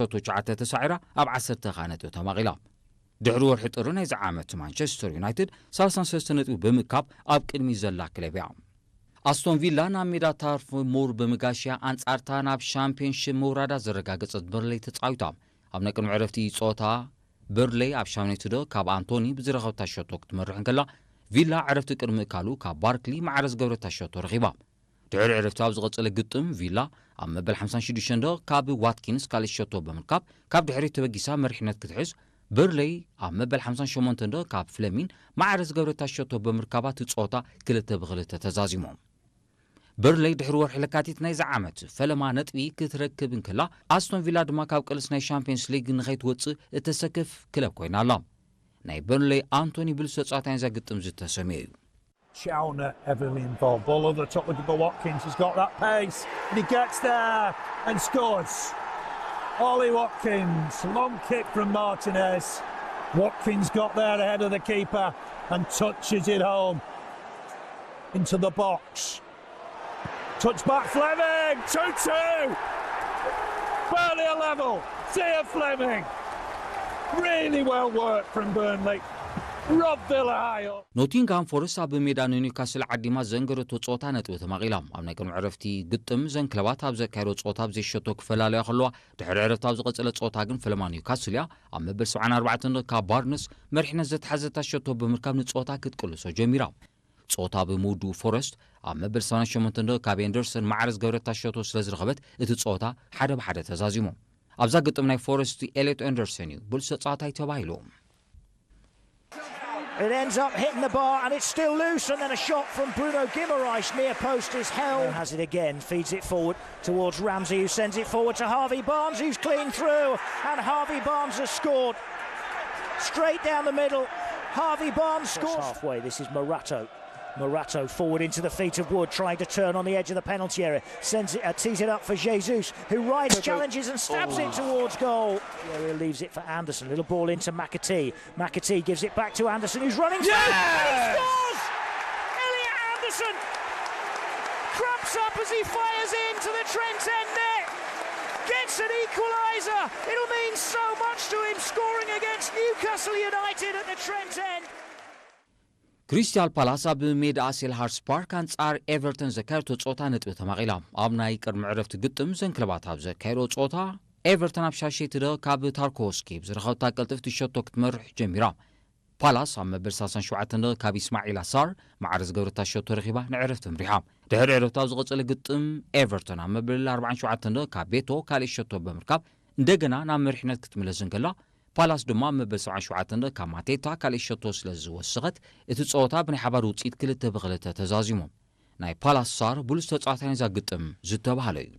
ሸቶ ትሽዓተ ተሳዒራ ኣብ ዓሰርተ ከኣ ነጥቢ ተማቒላ። ድሕሪ ወርሒ ጥሪ ናይዚ ዓመት ማንቸስተር ዩናይትድ ሰላሳ ሰለስተ ነጥቢ ብምካብ ኣብ ቅድሚ ዘላ ክለብ እያ። ኣስቶን ቪላ ናብ ሜዳ ታርፍ ሙር ብምጋሽያ ኣንጻርታ ናብ ሻምፒዮንሺፕ ምውራዳ ዘረጋገጸት በርንሌይ ተጻዊታ። ኣብ ናይ ቅድሚ ዕረፍቲ ጸወታ በርንሌይ ኣብ ሻምናይቲ ደቂቕ ካብ ኣንቶኒ ብዝረኸብታ ሸቶ ክትመርሕ እንከላ፣ ቪላ ዕረፍቲ ቅድሚ እካሉ ካብ ባርክሊ ማዕረ ዝገብረታ ሸቶ ረኺባ። ድሕሪ ዕረፍቲ ኣብ ዝቐጸለ ግጥም ቪላ ኣብ መበል ሓምሳን ሽዱሽተን ደቂቕ ካብ ዋትኪንስ ካልእ ሸቶ ብምርካብ ካብ ድሕሪት ተበጊሳ መሪሕነት ክትሕዝ፣ በርንሌይ ኣብ መበል ሓምሳን ሸሞንተን ደቂቕ ካብ ፍለሚን ማዕረ ዝገብረታ ሸቶ ብምርካባ እቲ ጸወታ ክልተ ብክልተ ተዛዚሙ። በርንሌይ ድሕሪ ወርሒ ለካቲት ናይዚ ዓመት ፈለማ ነጥቢ ክትረክብ እንከላ፣ ኣስቶን ቪላ ድማ ካብ ቅልስ ናይ ሻምፒዮንስ ሊግ ንኸይትወጽእ እተሰክፍ ክለብ ኮይና ኣላ። ናይ በርንሌይ ኣንቶኒ ብሉስ ተጻዋታይ ናይዛ ግጥም ዝተሰምየ እዩ። Chalner heavily involved. Ball over the top of Watkins. He's got that pace. And he gets there and scores. Ollie Watkins. Long kick from Martinez. Watkins got there ahead of the keeper and touches it home into the box. Touch back Fleming. two two. Burnley are level. Zia Fleming. Really well worked from Burnley. Rob Villa high up. ኖቲንግሃም ፎረስት ኣብ ሜዳ ንኒውካስል ዓዲማ ዘንገረቶ ጸወታ ነጥቢ ተማቒላ። ኣብ ናይ ቅድሚ ዕረፍቲ ግጥም ዘን ክለባት ኣብ ዘካየዶ ጸወታ ብዘይሸቶ ክፈላለያ ከለዋ፣ ድሕሪ ዕረፍቲ ኣብ ዝቐጸለ ጸወታ ግን ፈለማ ኒውካስል እያ ኣብ መበል ሰብዓን ኣርባዕተን ካብ ባርነስ መሪሕነት ዘተሓዘታ ሸቶ ብምርካብ ንጸወታ ክትቅልሶ ጀሚራ። ጸወታ ብምውድኡ ፎረስት ኣብ መበል ሰብዓን ሸሞንተን ካብ ኤንደርሰን ማዕረ ዝገበረታ ሸቶ ስለ ዝረኸበት እቲ ጸወታ ሓደ ብሓደ ተዛዚሙ። ኣብዛ ግጥም ናይ ፎረስት ኤሌት ኤንደርሰን እዩ ብሉስ ተጻዋታይ ተባሂሉ። It ends up hitting the bar and it's still loose, and then a shot from Bruno Guimaraes near post is held. Has it again, feeds it forward towards Ramsey, who sends it forward to Harvey Barnes, who's clean through, and Harvey Barnes has scored. Straight down the middle, Harvey Barnes scores. Halfway, this is Morata. Morata forward into the feet of Wood, trying to turn on the edge of the penalty area. Sends it, uh, tees it up for Jesus, who rides, challenges and stabs it towards goal. Area leaves it for Anderson. Little ball into McAtee. McAtee gives it back to Anderson, who's running through. And he scores! Elliot Anderson cramps up as he fires into the Trent End net. Gets an equaliser. It'll mean so much to him scoring against Newcastle United at the Trent End. ክሪስታል ፓላስ ኣብ ሜዳ ሴልሃርስ ፓርክ ኣንጻር ኤቨርተን ዘካየደቶ ጸወታ ነጥቢ ተማቒላ። ኣብ ናይ ቅድሚ ዕረፍቲ ግጥም ዘን ክለባት ኣብ ዘካየዶ ጸወታ ኤቨርተን ኣብ ሻሸይቲ ደቂቕ ካብ ታርኮስኪ ብዝረኸብታ ቅልጥፍቲ ሸቶ ክትመርሕ ጀሚራ። ፓላስ ኣብ መበል ሰላሳን ሸውዓተን ደቂቕ ካብ ኢስማዒላ ሳር ማዕረ ዝገበረታ ሸቶ ረኺባ ንዕረፍቲ ኣምሪሓ። ድሕሪ ዕረፍቲ ኣብ ዝቐጸለ ግጥም ኤቨርተን ኣብ መበል ኣርባዓን ሸውዓተን ደቂቕ ካብ ቤቶ ካልእ ሸቶ ብምርካብ እንደገና ናብ መሪሕነት ክትምለስ እንከላ፣ ፓላስ ድማ ኣብ መበል ሰብዓን ሸውዓተን ካብ ማቴታ ካልእ ሸቶ ስለ ዝወሰኸት፣ እቲ ጸወታ ብናይ ሓባር ውጽኢት ክልተ ብክልተ ተዛዚሙ። ናይ ፓላስ ሳር ብሉስ ተጻዋታይ ናይዛ ግጥም ዝተባህለ እዩ።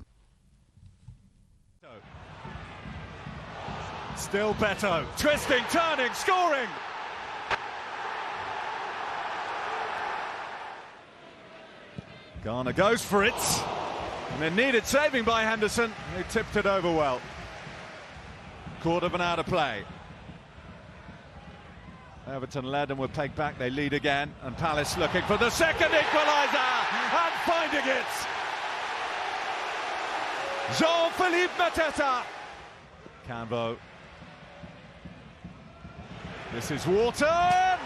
Still Beto, twisting, turning, scoring! Garner goes for it, and it needed saving by Henderson, who tipped it over well. Caught of an out of play. Everton led and were pegged back. They lead again, and Palace looking for the second equaliser and finding it. Jean-Philippe Mateta. Canvo. This is Wharton.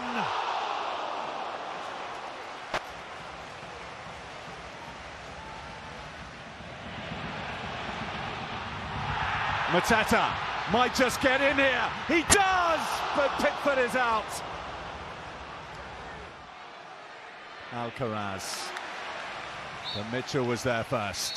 Mateta might just get in here. He does, but Pickford is out. Alcaraz. But Mitchell was there first.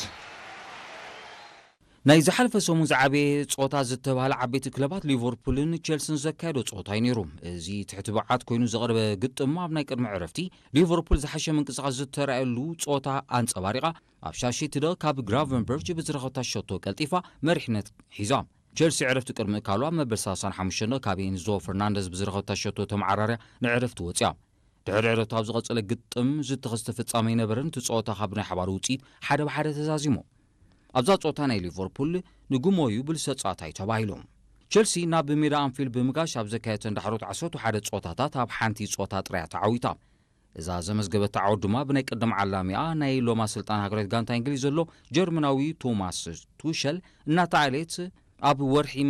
ናይ ዝሓለፈ ሰሙን ዝዓበየ ጾታ ዝተባህለ ዓበይቲ ክለባት ሊቨርፑልን ቸልስን ዘካየዶ ጾታ እዩ ነይሩ። እዚ ትሕቲ ብዓት ኮይኑ ዝቐረበ ግጥም ኣብ ናይ ቅድሚ ዕረፍቲ ሊቨርፑል ዝሓሸ ምንቅስቓስ ዝተራእየሉ ጾታ ኣንጸባሪቓ ኣብ ሻሽቲ ደ ካብ ግራቨንበርች ብዝረኸብታ ሸቶ ቀልጢፋ መሪሕነት ሒዛ። ቸልሲ ዕረፍቲ ቅድሚ እካሉ ኣብ መበል ሰላሳን ሓሙሽተን ካብ ኤንዞ ፈርናንደዝ ብዝረኸብታ ሸቶ ተመዓራርያ ንዕረፍቲ ወጽያ። ድሕሪ ዕረፍቲ ኣብ ዝቐጸለ ግጥም ዝተኸስተ ፍጻመ ኣይነበረን። እቲ ጸወታ ካብ ናይ ሓባር ውጽኢት ሓደ ብሓደ ተዛዚሙ። ኣብዛ ጸወታ ናይ ሊቨርፑል ንግሞ እዩ ብሉስ ተጻዋታይ ተባሂሉ። ቸልሲ ናብ ሜዳ ኣንፊልድ ብምጋሽ ኣብ ዘካየተን ዳሕሮት ዓሰርተ ሓደ ጸወታታት ኣብ ሓንቲ ጸወታ ጥራያ ተዓዊታ። እዛ ዘመዝገበታ ዓወት ድማ ብናይ ቀደም ዓላሚኣ ናይ ሎማ ስልጣን ሃገራዊት ጋንታ እንግሊዝ ዘሎ ጀርመናዊ ቶማስ ቱሸል እናተዓለየት ኣብ ወርሒ